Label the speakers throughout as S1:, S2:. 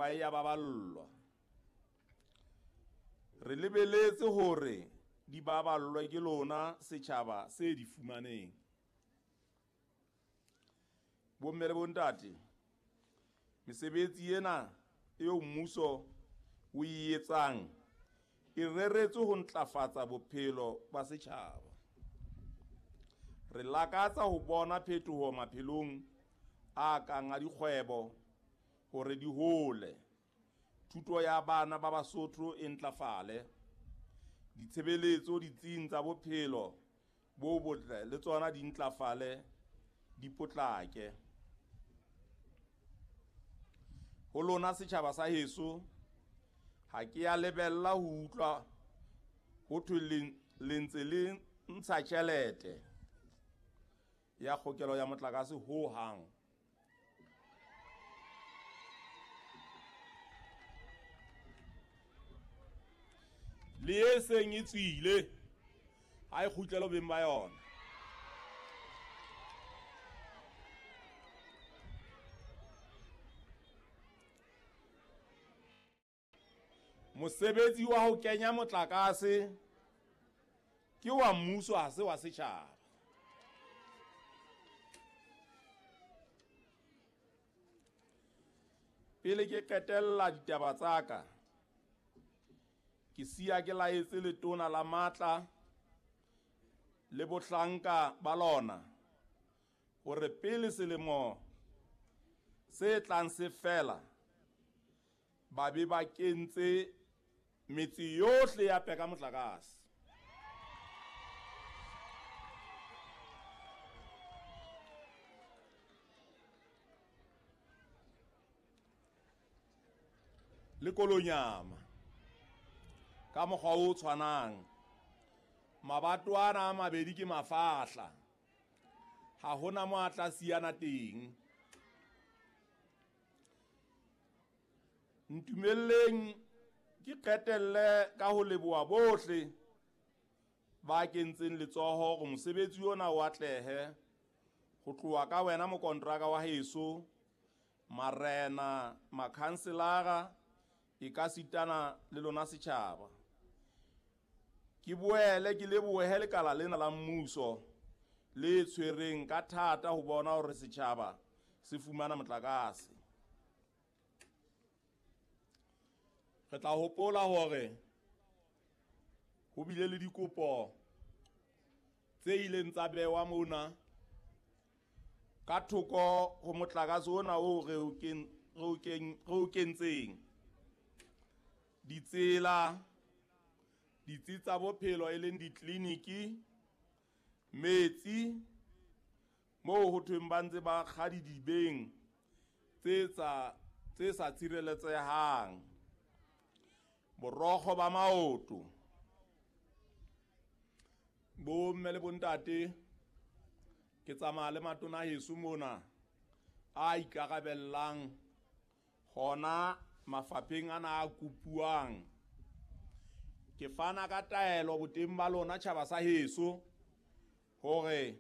S1: Thepa e ya baballwa. Re lebeletse hore di baballwe ke lona setjhaba se di fumaneng. Bomme le bontate, mesebetsi ena eo mmuso o e etsang e reretswe ho ntlafatsa bophelo ba setjhaba. Re lakatsa ho bona phetoho maphelong a kang a dikgwebo hore di hole, thuto ya bana ba Basotho e ntlafale, ditshebeletso ditsing tsa bophelo bo botle le tsona di ntlafale, di potlake. Ho lona setjhaba sa heso, ha ke ya lebella ho utlwa ho thwe le ntse le ntsha tjhelete ya kgokelo ya motlakase ho hang. Le e seng e tswile, ha e kgutlele beng ba yona. Mosebetsi wa ho kenya motlakase ke wa mmuso, ha se wa setjhaba. Pele ke qetella ditaba tsa ka, ke siya ke laetse letona la matla le bohlanka ba lona hore pele selemo se tlang se fela, ba be ba kentse metse yohle ya peka motlakase. Le Kolonyama ka mokgwa o tshwanang, mabato ana a mabedi ke mafahla, ha hona mo a tla siyana teng. Ntumelleng ke qetelle ka ho leboha bohle ba kentseng letsoho hore mosebetsi ona o atlehe, ho tloha ka wena mokontraka wa heso, marena, makhanselara, e ka sitana le lona setjhaba. Ke boele ke lebohe lekala lena la mmuso le tshwereng ka thata ho bona hore setjhaba se fumana motlakase. Re tla hopola hore ho bile le dikopo tse ileng tsa bewa mona ka thoko ho motlakase ona oo re o kentseng. Ditsela, ditsi tsa bophelo e leng ditleliniki, metsi moo ho thweng ba ntse ba kga didibeng tse sa tshireletsehang, borokgo ba maoto. Bomme le bontate, ke tsamaya le matona heso mona a ikarabellang hona mafapheng ana a kopuwang. Ke fana ka taelo boteng ba lona tjhaba sa heso hore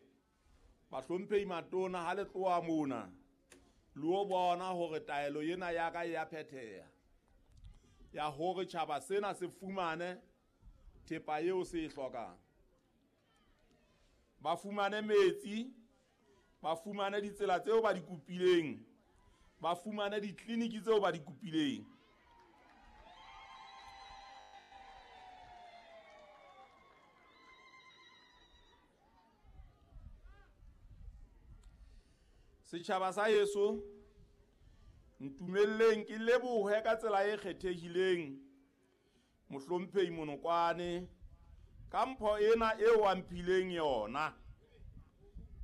S1: bahlomphehi matona ha le tloha mona le o bona hore taelo ena ya ka e ya phetheha, ya hore tjhaba sena se fumane thepa eo se e hlokang. Ba fumane metsi, ba fumane ditsela tseo ba di kopileng, ba fumane ditleliniki tseo ba di kopileng. Setjhaba sa heso, ntumelleng ke lebohe ka tsela e kgethehileng mohlomphehi Monokwane ka mpho ena eo a mphileng yona.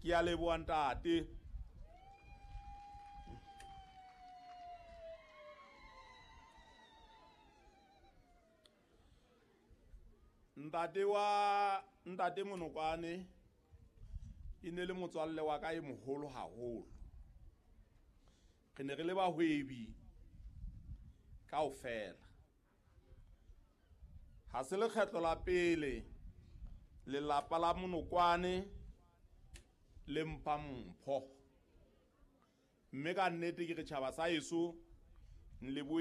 S1: Ke a leboha ntate. Ntate wa ntate Monokwane e ne le motswalle wa ka e moholo haholo. Re ne re le bahwebi kaofela. Ha se lekgetlo la pele lelapa la Monokwane le mpha mpho, mme ka nnete ke re tjhaba sa heso nlebohe.